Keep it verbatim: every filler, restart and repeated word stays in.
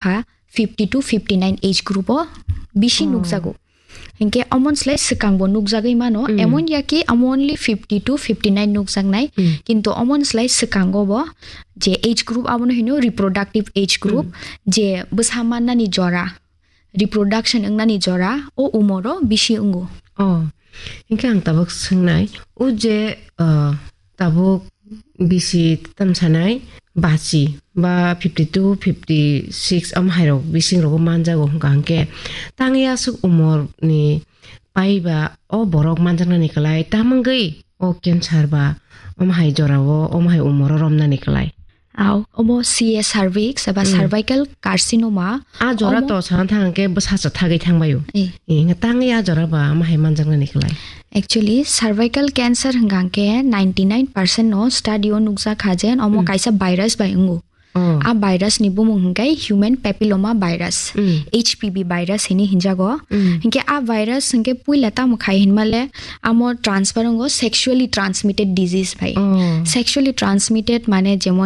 ha fifty to fifty nine age group o bisi Oh. nukjago. Hinkhe omon slai swkang bo nukjagwi mano, Mm. emon ya ki amo only fifty to fifty nine nukjaknai, Mm. kintu omon slai swkango bo je age group abono hino reproductive age group, Mm. je bwsa mannani jora, reproduction wngnani jora, o umoro bisi wngo. Oh, hinkhe ang tabuk swngnai, o je, uh, tabuk bisi tamsanai bachi ba fifty two, fifty six am hairok bising rogo manjago hwnkha hwnkhe tangya aswk umor ni paiba o borok manjaknani kwlai tamungwi o cancer ba omo hai jorao omo hai umoro romnani kwlai. Au, omo C A cervix eba Mm. cervical carcinoma. A jora Omo to sana thang hwnkhe bwsa cha thagwi thangbaio. Eh. Eh, hwnkhe tangwi a jora ba omo hai manjaknani kwlai. Actually, cervical cancer hwnkha hwnkhe ninety nine percent no study o nukjak kha je omo Mm. kaisa virus bai wngo. Oh. A virus ni bumung hwnkhe human papilloma virus, Mm. H P V virus hini hinjago. Mm. Hinkhe a virus hinkhe puila tamo khai hinmale amo transfer wngo sexually transmitted disease bai. Oh. Sexually transmitted mane jemon